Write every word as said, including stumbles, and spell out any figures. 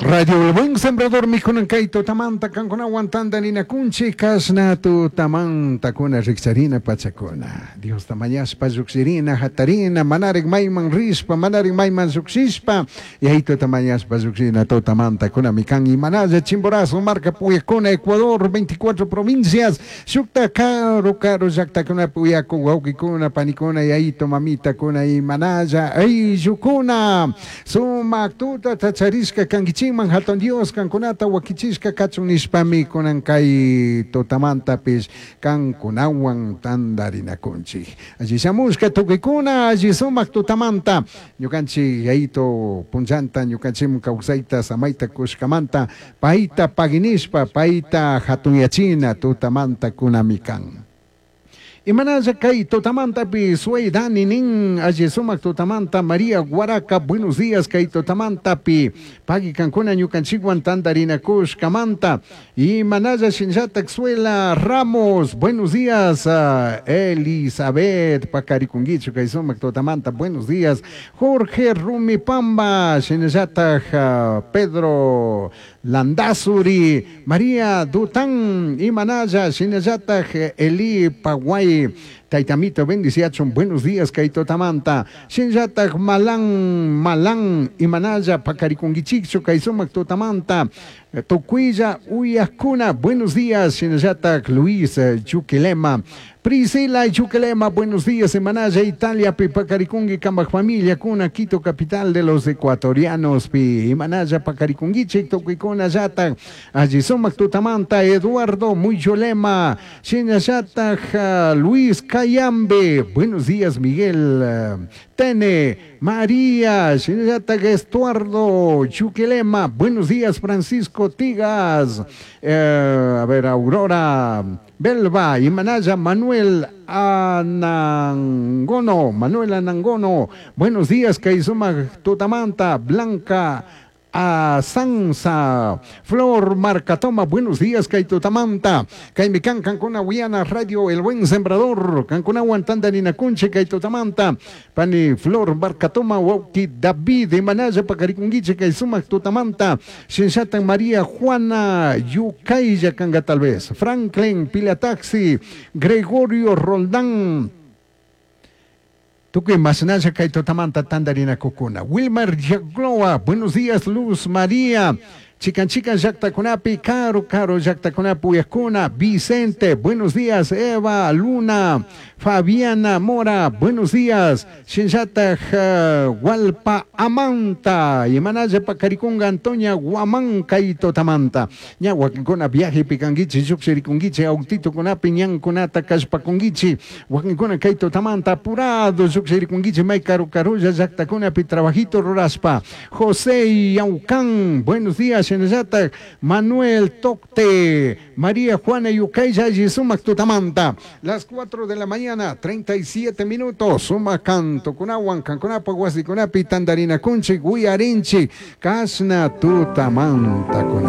Radio El Buen Sembrador mikunan kay tutamanta kankunawan tantarinakunchik kashna tutamanta kuna rikcharina pachakuna. Diosta mañashpa llukshirina hatarina manarik mayman rishpa manarik mayman llukshishpa yayituta mañashpa llukshirina tutamanta kunami kan imanalla Chimborazo marka puyakuna Ecuador veinticuatro provincias shukta karu karu llaktakuna puyaku wawqikuna panikuna yayito mamitakuna imanalla ayllukuna sumak tuta tacharishka kankichikman hatun Dios kankunata wakichishka kachun nishpami kunan kay tutamantapish kankunawan tantarinakunchik. Alli shamushka tukuykuna alli sumak tutamanta ñukanchik yayito punllanta ñukanchikman kawsayta samayta kushkamanta payta paginishpa payta hatunyachina tutamanta kunami kan. Imanalla kay tutamantapi Sueidani nin alli sumak tutamanta María Guaraca, buenos días kay tutamantapi pagui kankuna ñukanchikwan tantarinakushkamanta. Imanalla shinllatak Suela Ramos, buenos días uh, Elizabeth pakarikunkichu kay sumak tutamanta, buenos días Jorge Rumipamba, shinllatak uh, Pedro Landazuri, María Dután, Imanalla, shinllatak Eli Paguay, Taitamito, bendiciachon, buenos días, kay tutamanta. Shinllatak Malán, Malán, Imanalla, Pacarikunguichicho, Kaisumac tutamanta. Tocuilla, Uyacuna, buenos días, Shinllatak Luis Chuquilema. Priscila Chuquilema, buenos días, Imanalla, Italia, pi Pacaricungui, Cambaj familia, Cuna, Quito, capital de los ecuatorianos, pi Imanalla, Pacarikunguichi, Tocuicuna, Yata, Allí sumak tutamanta, Eduardo Muyolema, Shinllatak Luis Cayambe, buenos días, Miguel Tene, María, Shinllatak Estuardo Chuquilema, buenos días, Francisco Tigas, eh, a ver, Aurora Belva, Imanaya, Manuel Anangono, Manuel Anangono, buenos días, Kaizuma Tutamanta, Blanca a Sansa, Flor Marcatoma, buenos días, Kaitutamanta, Kaimikan, Cancuna, Guiana, Radio El Buen Sembrador, Cancuna, Guantanda, Ninakunche, Kaitutamanta, Pani Flor Marcatoma, Wauki David, Imanaya, Pacarikunguiche, Kaisumac, Tutamanta, Shinshatan María Juana, Yucaya, Canga tal vez, Franklin, Pilataxi, Gregorio Roldán, Tukuy masnalla kay tutamanta tantarinakukuna. Wilmar Yagloa, buenos días, Luz María. Chican chican llaktakunapi, karu karu llaktakunapi uyakuna. Vicente, buenos días, Eva Luna, Fabiana Mora, buenos días. Shinllatak uh, Walpa Amanta, Imanalla Pacarikunga Antonia Guamán Kaito Tamanta. Ña wakinkuna viaje pikanguichi, llukshirikunguichi, autito kunapi, ñankunata kallpakunguichi, wakinkuna kayto tamanta apurado, llukshirikunguichi, may karu karulla llaktakunapi trabajito ruraspa. José Yaucán, buenos días, Shinllatak Manuel Tocte, María Juana Yucaya y Sumac Tutamanta. Las cuatro de la mañana, treinta y siete minutos. Suma canto, kunawan, kankunapa, huasicunapi, tandarina kunchi, guyarinchi, kasna tutamanta kuna.